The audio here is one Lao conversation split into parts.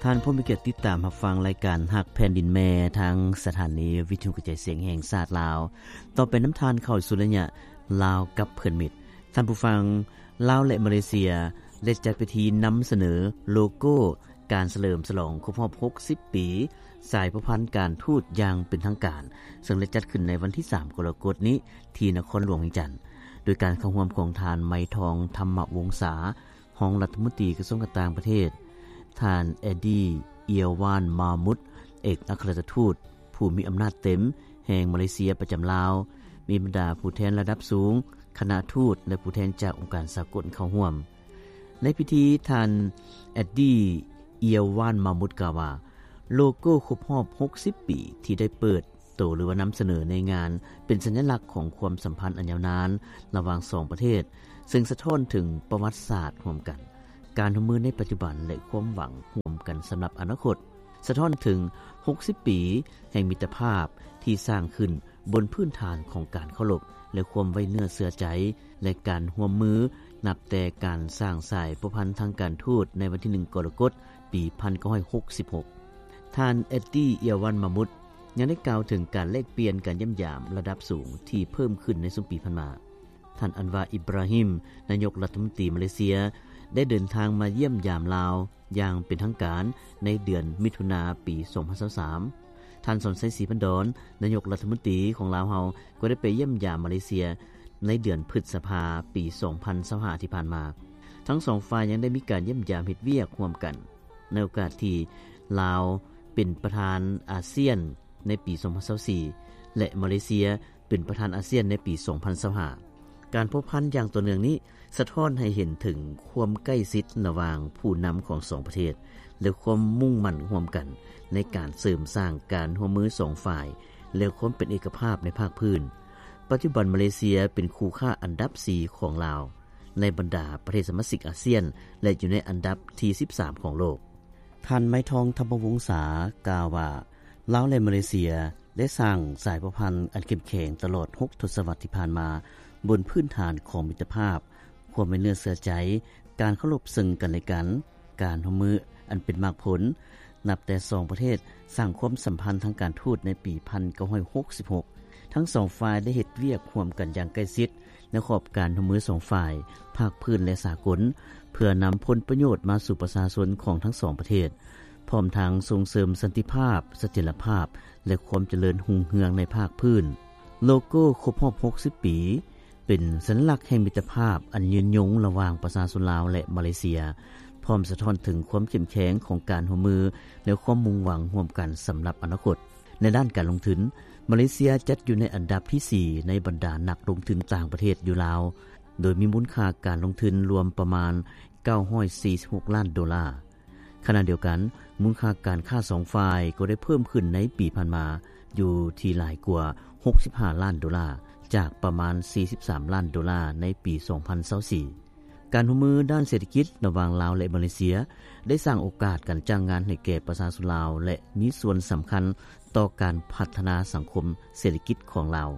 ທ່ານຜູ້ມີກຽດຕິດຕາມຮັບຟັງລາຍການຮັກແຜ່ນດິນແມ່ ທາງສະຖານີວິທຍຸກະຈາຍສຽງແຫ່ງຊາດລາວ. ຕໍ່ໄປນຳທ່ານເຂົ້າສູ່ໄລຍະລາວກັບເພື່ອນມິດ. ທ່ານຜູ້ຟັງ, ລາວ ແລະ ມາເລເຊຍ ໄດ້ຈັດພິທີນຳສະເໜີໂລໂກ້ການສະເຫຼີມສະຫຼອງຄົບຮອບຫົກສິບປີສາຍພົວພັນການທູດຢ່າງເປັນທາງການ, ເຊິ່ງໄດ້ຈັດຂຶ້ນໃນວັນທີສາມ ກໍລະກົດນີ້ ທີ່ນະຄອນຫຼວງວຽງຈັນ, ໂດຍການເຂົ້າຮ່ວມຂອງທ່ານ ໄມທອງ ທຳມະວົງສາ ຮອງລັດຖະມົນຕີກະຊວງການຕ່າງປະເທດ, ທ່ານ ແອດດີ້ ເອຍວານ ມາມຸດ ເອກອັກຄະລັດຖະທູດຜູ້ມີອຳນາດເຕັມແຫ່ງມາເລເຊຍປະຈຳລາວ, ມີບັນດາຜູ້ແທນລະດັບສູງ, ຄະນະທູດ ແລະ ຜູ້ແທນຈາກອົງການສາກົນເຂົ້າຮ່ວມ. ໃນພິທີ, ທ່ານ ແອດດີ້ ເອຍວານ ມາມຸດ ກ່າວວ່າ ໂລໂກ້ຄົບຮອບຫົກສິບປີທີ່ໄດ້ເປີດ ໂຕ ຫຼືວ່ານຳສະເໜີໃນງານ ເປັນສັນຍະລັກຂອງຄວາມສຳພັນອັນຍາວນານລະຫວ່າງສອງປະເທດ, ເຊິ່ງສະທ້ອນເຖິງປະຫວັດສາດຮ່ວມກັນ, ການຮ່ວມມືໃນປັດຈຸບັນ ແລະ ຄວາມຫວັງຮ່ວມກັນສຳລັບອະນາຄົດ, ສະທ້ອນເຖິງຫົກສິບປີແຫ່ງມິດຕະພາບທີ່ສ້າງຂຶ້ນບົນພື້ນຖານຂອງການເຄົາລົບ ແລະ ຄວາມໄວ້ເນື້ອເຊື່ອໃຈ ແລະ ການຮ່ວມມື ນັບແຕ່ການສ້າງສາຍພົວພັນທາງການທູດໃນວັນທີໜຶ່ງ ກໍລະກົດ ປີພັນເກົ້າຮ້ອຍຫົກສິບຫົກ. ທ່ານ ແອດດີ້ ເອຍວານ ມາມຸດ ຍັງໄດ້ກ່າວເຖິງການແລກປ່ຽນການຢ້ຽມຢາມລະດັບສູງທີ່ເພີ່ມຂຶ້ນໃນຊຸມປີຜ່ານມາ. ທ່ານ ອັນວາ ອິບຣາຮິມ ນາຍົກລັດຖະມົນຕີມາເລເຊຍ ໄດ້ເດີນທາງມາຢ້ຽມຢາມລາວຢ່າງເປັນທາງການໃນເດືອນມິຖຸນາ ປີສອງພັນຊາວສາມ. ທ່ານ ສອນໄຊ ສີພັນດອນ ນາຍົກລັດຖະມົນຕີຂອງລາວເຮົາ ກໍໄດ້ໄປຢ້ຽມຢາມມາເລເຊຍໃນເດືອນພຶດສະພາ ປີສອງພັນຊາວຫ້າ ທີ່ຜ່ານມາ. ທັງສອງຝ່າຍຍັງໄດ້ມີການຢ້ຽມຢາມເຮັດວຽກຮ່ວມກັນ ໃນໂອກາດທີ່ລາວເປັນປະທານອາຊຽນໃນປີສອງພັນຊາວສີ່ ແລະ ມາເລເຊຍເປັນປະທານອາຊຽນໃນປີສອງພັນຊາວຫ້າ. ການພົວພັນຢ່າງຕໍ່ເນື່ອງນີ້ສະທ້ອນໃຫ້ເຫັນເຖິງຄວາມໃກ້ຊິດລະຫວ່າງຜູ້ນຳຂອງສອງປະເທດ ແລະ ຄວາມມຸ່ງໝັ້ນຮ່ວມກັນໃນການເສີມສ້າງການຮ່ວມມືສອງຝ່າຍ ແລະ ຄວາມເປັນເອກະພາບໃນພາກພື້ນ. ປັດຈຸບັນມາເລເຊຍເປັນຄູ່ຄ້າອັນດັບສີ່ຂອງລາວ ໃນບັນດາປະເທດສະມາຊິກອາຊຽນ ແລະ ຢູ່ໃນອັນດັບທີສິບສາມຂອງໂລກ. ທ່ານ ໄມທອງ ທຳມະວົງສາ ກ່າວວ່າ ລາວ ແລະ ມາເລເຊຍ ໄດ້ສ້າງສາຍພົວພັນອັນເຂັ້ມແຂງຕະຫຼອດຫົກທົດສະວັດທີ່ຜ່ານມາ ບົນພື້ນຖານຂອງມິດຕະພາບ, ຄວາມໄວ້ເນື້ອເຊື່ອໃຈ, ການເຄົາລົບເຊິ່ງກັນແລະກັນ, ການຮ່ວມມືອັນເປັນໝາກຜົນ. ນັບແຕ່ສອງປະເທດສ້າງຄວາມສຳພັນທາງການທູດໃນປີພັນເກົ້າຮ້ອຍຫົກສິບຫົກ, ທັງສອງຝ່າຍໄດ້ເຮັດວຽກຮ່ວມກັນຢ່າງໃກ້ຊິດ ໃນຂອບການຮ່ວມມືສອງຝ່າຍ, ພາກພື້ນ ແລະ ສາກົນ, ເພື່ອນຳຜົນປະໂຫຍດມາສູ່ປະຊາຊົນຂອງທັງສອງປະເທດ, ພ້ອມທັງສົ່ງເສີມສັນຕິພາບ, ສະຖຽນລະພາບ ແລະ ຄວາມຈະເລີນຮຸ່ງເຮືອງໃນພາກພື້ນ. ໂລໂກ້ຄົບຮອບຫົກສິບປີ ເປັນສັນຍະລັກແຫ່ງມິດຕະພາບອັນຍືນຍົງລະຫວ່າງປະຊາຊົນລາວ ແລະ ມາເລເຊຍ, ພ້ອມສະທ້ອນເຖິງຄວາມເຂັ້ມແຂງຂອງການຮ່ວມມື ແລະ ຄວາມມຸ່ງຫວັງຮ່ວມກັນສຳລັບອະນາຄົດ. ໃນດ້ານການລົງທຶນ, ມາເລເຊຍຈັດຢູ່ໃນອັນດັບທີສີ່ໃນບັນດານັກລົງທຶນຕ່າງປະເທດຢູ່ລາວ, ໂດຍມີມູນຄ່າການລົງທຶນລວມປະມານເກົ້າຮ້ອຍສີ່ສິບຫົກລ້ານໂດລາ. ຂະນະດຽວກັນ, ມູນຄ່າການຄ້າສອງຝ່າຍກໍໄດ້ເພີ່ມຂຶ້ນໃນປີຜ່ານມາ ຢູ່ທີ່ຫຼາຍກວ່າຫົກສິບຫ້າລ້ານໂດລາ, ຈາກປະມານສີ່ສິບສາມລ້ານໂດລາໃນປີສອງພັນຊາວສີ່. ການຮ່ວມມືດ້ານເສດຖະກິດລະຫວ່າງລາວ ແລະ ມາເລເຊຍ ໄດ້ສ້າງໂອກາດການຈ້າງງານໃຫ້ແກ່ປະຊາຊົນລາວ ແລະ ມີສ່ວນສຳຄັນຕໍ່ການພັດທະນາສັງຄົມເສດຖະກິດຂອງລາວ.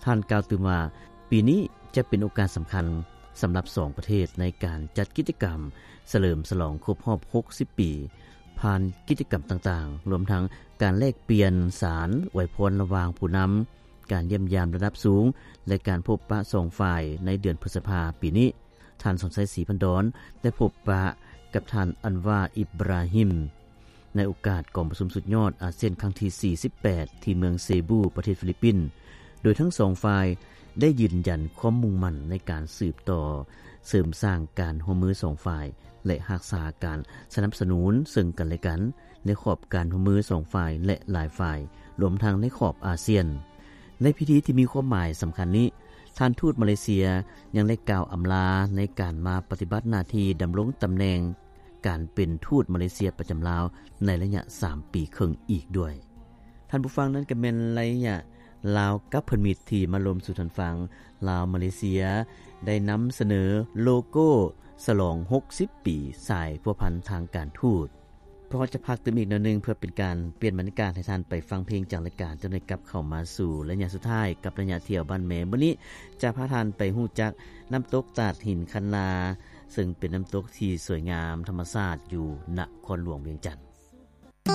ທ່ານກ່າວຕື່ມວ່າ, ປີນີ້ຈະເປັນໂອກາດສຳຄັນສຳລັບສອງປະເທດໃນການຈັດກິດຈະກຳສະເຫຼີມສະຫຼອງຄົບຮອບຫົກສິບປີ, ຜ່ານກິດຈະກຳຕ່າງໆ, ລວມທັງການແລກປ່ຽນສານອວຍພອນລະຫວ່າງຜູ້ນຳ, ການຢ້ຽມຢາມລະດັບສູງ ແລະ ການພົບປະສອງຝ່າຍໃນເດືອນພຶດສະພາປີນີ້. ທ່ານ ສອນໄຊ ສີພັນດອນ ໄດ້ພົບປະກັບທ່ານ ອັນວາ ອິບຣາຮິມ ໃນໂອກາດກອງປະຊຸມສຸດຍອດອາຊຽນຄັ້ງທີສີ່ສິບແປດ ທີ່ເມືອງເຊບູ ປະເທດຟີລິບປິນ, ໂດຍທັງສອງຝ່າຍໄດ້ຢືນຢັນຄວາມມຸ່ງໝັ້ນໃນການສືບຕໍ່ເສີມສ້າງການຮ່ວມມືສອງຝ່າຍ ແລະ ຮັກສາການສະໜັບສະໜູນເຊິ່ງກັນແລະກັນ ໃນຂອບການຮ່ວມມືສອງຝ່າຍ ແລະ ຫຼາຍຝ່າຍ, ລວມທັງໃນຂອບອາຊຽນ. ໃນພິທີທີ່ມີຄວາມໝາຍສຳຄັນນີ້, ທ່ານທູດມາເລເຊຍຍັງໄດ້ກ່າວອຳລາໃນການມາປະຕິບັດໜ້າທີ່ດຳລົງຕຳແໜ່ງການເປັນທູດມາເລເຊຍປະຈຳລາວໃນໄລຍະສາມປີເຄິ່ງອີກດ້ວຍ. ທ່ານຜູ້ຟັງ, ນັ້ນກໍແມ່ນໄລຍະລາວກັບເພື່ອນມິດທີ່ມາລົມສູ່ທ່ານຟັງ. ລາວມາເລເຊຍໄດ້ນຳສະເໜີໂລໂກ້ສະຫຼອງຫົກສິບປີສາຍພົວພັນທາງການທູດ. ພວກເຮົາຈະພັກຕື່ມອີກໜ້ອຍໜຶ່ງ ເພື່ອເປັນການປ່ຽນບັນຍາກາດໃຫ້ທ່ານໄປຟັງເພງຈາກລາຍການ, ຈະໄດ້ກັບເຂົ້າມາສູ່ໄລຍະສຸດທ້າຍກັບໄລຍະທ່ຽວບ້ານແມ່. ມື້ນີ້ຈະພາທ່ານໄປຮູ້ຈັກນ້ຳຕົກຕາດຫີນຄັນນາ, ເຊິ່ງເປັນນ້ຳຕົກທີ່ສວຍງາມທຳມະຊາດຢູ່ນະຄອນຫຼວງວຽງຈັນ.